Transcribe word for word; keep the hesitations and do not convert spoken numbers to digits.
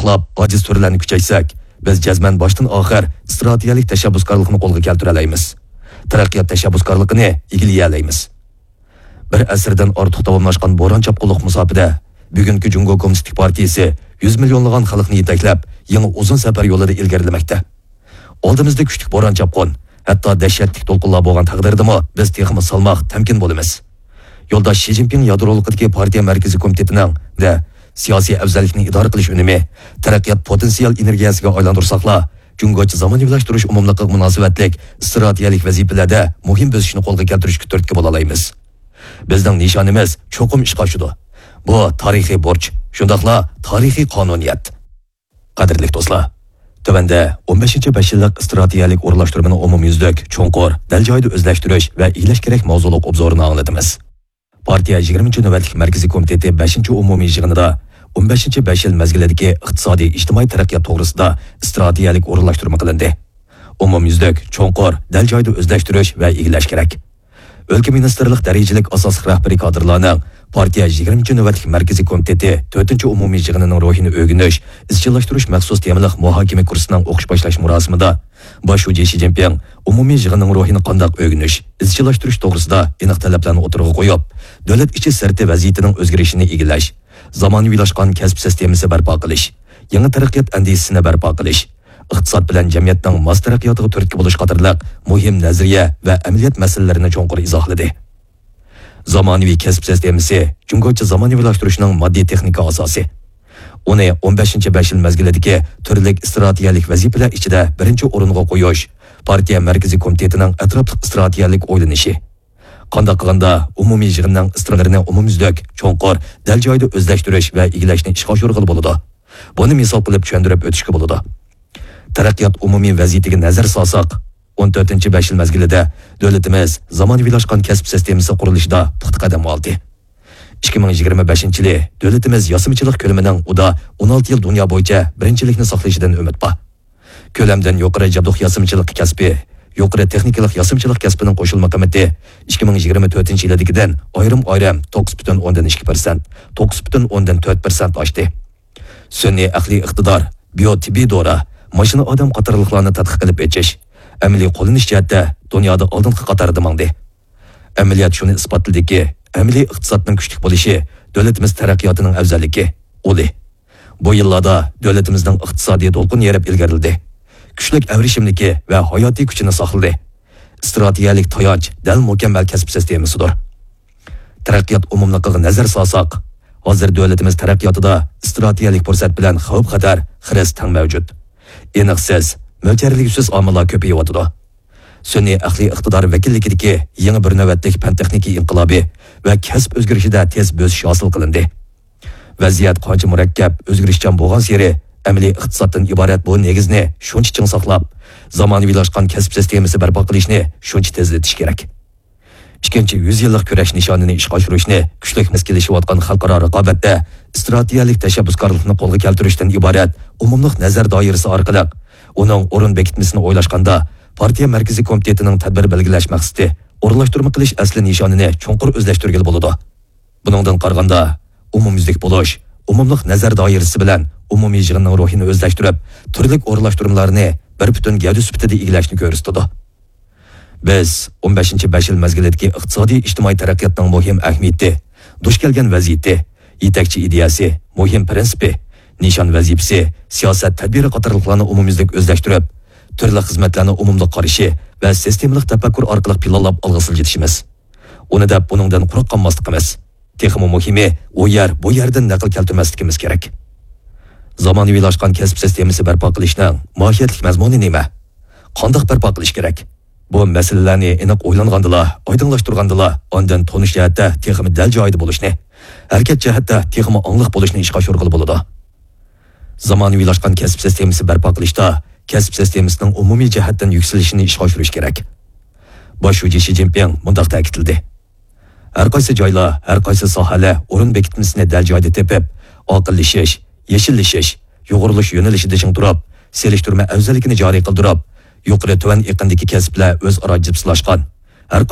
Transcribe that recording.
ئاجىز تۈرلەرنى كۈچەيتسەك، بىز جەزمەن باشتىن ئاخىر ئىستراتېگىيەلىك تەشەببۇسكارلىقنى قولغا كەلتۈرەلەيمىز. تەرەققىيات تەشەببۇسكارلىقىنى ئىگىلىيەلەيمىز. بىر ئەسىردىن ئارتۇق داۋاملاشقان بوران-چاپقۇنلۇق مۇساپىدە، بۈگۈنكى جۇڭگو كوممۇنىستىك پارتىيىسى يۈز مىليونلىغان خەلقنى يېتەكلەپ، يېڭى ئۇزۇن سەپەر يولىدا ئىلگىرىلىمەكتە. ئالدىمىزدا كۈچلۈك بوران-چاپقۇن، ھەتتا دەھشەتلىك دولقۇنلار بولغان تەقدىردىمۇ، بىز تېخىمۇ سالماق، تەمكىن بولىمىز. يولداش شى جىنپىڭ يادرولۇقىدىكى پارتىيە مەركىزىي كومىتېتىنىڭ دە سىياسىي ئەۋزەللىكنى ئىدارە قىلىش ئۈنۈمى، تەرەققىيات پوتېنسىيال ئېنېرگىيەسىگە ئايلاندۇرساقلا، جۇڭگوچە زامانىۋىلاشتۇرۇش ئومۇملۇقىغا مۇناسىۋەتلىك ئىستراتېگىيەلىك ۋەزىپىلەردە مۇھىم بۆسۈشنى قولغا كەلتۈرۈشكە تۈرتكە بولالايمىز. بىزنىڭ نىشانىمىز چوقۇم ئىشقا ئاشىدۇ. بۇ تارىخىي بۇرچ، شۇنداقلا تارىخىي قانۇنىيەت. قەدىرلىك دوستلار، تۆۋەندە ئون بەشىنچى بەش يىللىق ئىستراتېگىيەلىك ئورۇنلاشتۇرمىنى ئومۇميۈزلۈك، چوڭقۇر، دەل جايىدا ئۆزلەشتۈرۈش ۋە ئىگىلەش كېرەك ماۋزۇلۇق ئوبزورىنى ئاڭلىتىمىز. پارتىيە يىگىرمىنچى نۆۋەتلىك مەركىزىي كومىتېتى بەشىنچى ئومۇمىي يىغىنىدا ئون بەشىنچى بەش يىل مەزگىلىدىكى ئىقتىسادىي، ئىجتىمائىي تەرەققىيات توغرىسىدا ئىستراتېگىيەلىك ئورۇنلاشتۇرما قىلىندى. ئومۇميۈزلۈك، چوڭقۇر، دەل جايىدا ئۆزلەشتۈرۈش ۋە ئىگىلەش كېرەك. ئۆلكە مىنىستىرلىق دەرىجىلىك ئاساسلىق رەھبىرىي كادىرلارنىڭ پارتىيە يىگىرمىنچى نۆۋەتلىك مەركىزىي كومىتېتى تۆتىنچى ئومۇمىي يىغىنىنىڭ روھىنى ئۆگىنىش، ئىزچىللاشتۇرۇش مەخسۇس تېمىلىق مۇھاكىمە كۇرسىنىڭ ئوقۇش باشلاش مۇراسىمىدا باش شۇجى شى جىنپىڭ ئومۇمىي يىغىننىڭ روھىنى قانداق ئۆگىنىش، ئىزچىللاشتۇرۇش توغرىسىدا ئېنىق تەلەپلەرنى ئوتتۇرىغا قويۇپ، دۆلەت ئىچى سىرتى ۋەزىيىتىنىڭ ئۆزگىرىشىنى ئىگىلەش، زامانىۋىلاشقان كەسىپ سىستېمىسى بەرپا قىلىش، يېڭى تەرەققىيات ئەندىزىسىنى بەرپا قىلىش، ئىقتىساد بىلەن جەمئىيەتنىڭ ماس تەرەققىياتىغا تۈرتكە بولۇش قاتارلىق مۇھىم نەزەرىيە ۋە ئەمەلىيەت مەسىلىلىرىنى چوڭقۇر ئىزاھلىدى. زامانىۋى كەسىپ سىستېمىسى جۇڭگوچە زامانىۋىلاشتۇرۇشنىڭ ماددىي تېخنىكا ئاساسى. ئۇنى ئون بەشىنچى بەش يىل مەزگىلىدىكى تۈرلۈك ئىستراتېگىيەلىك ۋەزىپىلەر ئىچىدە بىرىنچى ئورۇنغا قويۇش پارتىيە مەركىزىي كومىتېتىنىڭ ئەتراپلىق ئىستراتېگىيەلىك ئويلىنىشى. قانداق قىلغاندا ئومۇمىي يىغىننىڭ ئىستراتېگىيەلىرىنى ئومۇميۈزلۈك، چوڭقۇر، دەل جايىدا ئۆزلەشتۈرۈش ۋە ئىگىلەشنى ئىشقا ئاشۇرغىلى بولىدۇ؟ بۇنى مىسال قىلىپ چۈشەندۈرۈپ ئۆتۈشكە بولىدۇ. تەرەققىيات ئومۇمىي ۋەزىيىتىگە نەزەر سالساق، ئون تۆتىنچى بەش يىل مەزگىلىدە دۆلىتىمىز زامانىۋىلاشقان كەسىپ سىستېمىسى قۇرۇلۇشىدا پۇختا قەدەم ئالدى. ئىككى مىڭ يىگىرمە بەشىنچى يىلى دۆلىتىمىز ياسىمىچىلىق كۆلىمىنىڭ ئۇدا ئون ئالتە يىل دۇنيا بويىچە بىرىنچىلىكنى ساقلىشىدىن ئۈمىد بار. كۆلەمدىن يۇقىرى جابدۇق ياسىمىچىلىق كەسپى، يۇقىرى تېخنىكىلىق ياسىمىچىلىق كەسپىنىڭ قوشۇلما قىممىتى ئىككى مىڭ يىگىرمە تۆتىنچى يىلىدىكىدىن ئايرىم-ئايرىم توققۇز پۈتۈن ئوندىن ئىككى پىرسەنت، توققۇز پۈتۈن ئوندىن تۆت پىرسەنت ئاشتى. سۈنئىي ئەقلىي ئىقتىدار، بىيو تېببىي دورا، ماشىنا ئادەم قاتارلىقلارنى تەتقىق قىلىپ ئېچىش، ئەمەلىي قوللىنىش جەھەتتە دۇنيادا ئالدىنقى قاتاردا ماڭدى. ئەمەلىيەت شۇنى ئىسپاتلىدىكى، ئەمەلىي ئىقتىسادنىڭ كۈچلۈك بولۇشى دۆلىتىمىز تەرەققىياتىنىڭ ئەۋزەللىكى، ئۇلى. بۇ يىللاردا دۆلىتىمىزنىڭ ئىقتىسادىي دولقۇن يېرىپ ئىلگىرىلىدى. كۈچلۈك ئەۋرىشىملىكى ۋە ھاياتىي كۈچىنى ساقلىدى. ئىستراتېگىيەلىك تايانچ دەل مۇكەممەل كەسىپ سىستېمىسىدۇر. تەرەققىيات ئومۇملۇقىغا نەزەر سالساق، ھازىر دۆلىتىمىز تەرەققىياتىدا ئىستراتېگىيەلىك پۇرسەت بىلەن خەۋپ-خەتەر، خىرىس تەڭ مەۋجۇت. ئېنىقسىز، مۆلچەرلىگۈسىز ئامىللار كۆپىيىۋاتىدۇ. سۈنئىي ئەقلىي ئىقتىدار ۋەكىللىكىدىكى يېڭى بىر نۆۋەتلىك پەن-تېخنىكا ئىنقىلابى ۋە كەسىپ ئۆزگىرىشىدە تېز بۆسۈش ھاسىل قىلىندى. ۋەزىيەت قانچە مۇرەككەپ، ئۆزگىرىشچان بولغانسېرى، ئەمەلىي ئىقتىسادتىن ئىبارەت بۇ نېگىزنى شۇنچە چىڭ ساقلاپ، زامانىۋىلاشقان كەسىپ سىستېمىسى بەرپا قىلىشنى شۇنچە تېزلىتىش كېرەك. ئىككىنچى يۈز يىللىق كۈرەش نىشانىنى ئىشقا ئاشۇرۇشنى كۈچلۈك مەسكىلىشىۋاتقان خەلقئارا رىقابەتتە ئىستراتېگىيەلىك تەشەببۇسكارلىقنى قولغا كەلتۈرۈشتىن ئىبارەت ئومۇملۇق نەزەر دائىرىسى ئارقىلىق ئۇنىڭ ئورۇن بېكىتمىسىنى ئويلاشقاندا، پارتىيە مەركىزىي كومىتېتىنىڭ تەدبىر بەلگىلەش مەقسىتى، ئورۇنلاشتۇرما قىلىش ئەسلى نىشانىنى چوڭقۇر ئۆزلەشتۈرگىلى بولىدۇ. بۇنىڭدىن قارىغاندا، ئومۇميۈزلۈك بولۇش، ئومۇملۇق نەزەر دائىرىسى بىلەن ئومۇمىي يىغىننىڭ روھىنى ئۆزلەشتۈرۈپ، تۈرلۈك ئورۇنلاشتۇرمىلارنى بىر پۈتۈن گەۋدە سۈپىتىدە ئىگىلەشنى كۆرسىتىدۇ. بىز ئون بەشىنچى بەش يىل مەزگىلىدىكى ئىقتىسادىي ئىجتىمائىي تەرەققىياتنىڭ مۇھىم ئەھمىيىتى، دۇچ كەلگەن ۋەزىيىتى، يېتەكچى ئىدىيەسى، مۇھىم پىرىنسىپى، نىشان ۋەزىپىسى، سىياسەت تەدبىرى قاتارلىقلارنى ئومۇميۈزلۈك ئۆزلەشتۈرۈپ، تۈرلۈك خىزمەتلەرنى ئومۇملۇق قارىشى ۋە سىستېمىلىق تەپەككۇر ئارقىلىق پىلانلاپ ئالغا سىلجىتىشىمىز. ئۇنى دەپ بۇنىڭدىن قۇرۇق قالماسلىقىمىز. تېخىمۇ مۇھىمى، ئۇ يەر، بۇ يەردىن نەقىل كەلتۈرمەسلىكىمىز كېرەك. زامانىۋىلاشقان كەسىپ سىستېمىسى بەرپا قىلىشنىڭ ماھىيەتلىك مەزمۇنى نېمە؟ قانداق بەرپا قىلىش كېرەك؟ بۇ مەسىلىلەرنى ئېنىق ئويلانغاندىلا، ئايدىڭلاشتۇرغاندىلا، ئاندىن تونۇش جەھەتتە تېخىمۇ دەل جايىدا بولۇشنى، ھەرىكەت جەھەتتە تېخىمۇ ئاڭلىق بولۇشنى ئىشقا ئاشۇرغىلى بولىدۇ. زامانىۋىلاشقان كەسىپ سىستېمىسى بەرپا قىلىشتا كەسىپ سىستېمىسىنىڭ ئومۇمىي جەھەتتىن يۈكسىلىشىنى ئىشقا ئاشۇرۇش كېرەك. باش شۇجى شى جىنپىڭ مۇنداق تەكىتلىدى: ھەر قايسى جايلار، ھەر قايسى ساھەلەر ئورۇن بېكىتمىسىنى دەل جايىدا تېپىپ، ئاقىللىشىش، يېشىللىشىش، يۇغۇرۇلۇش يۆنىلىشىدە چىڭ تۇرۇپ، سېلىشتۇرما ئەۋزەللىكىنى جارى قىلدۇرۇپ، يۇقىرى تۆۋەن ئېقىندىكى كەسىپلەر ئۆزئارا جىپسىلاشقان، ھەر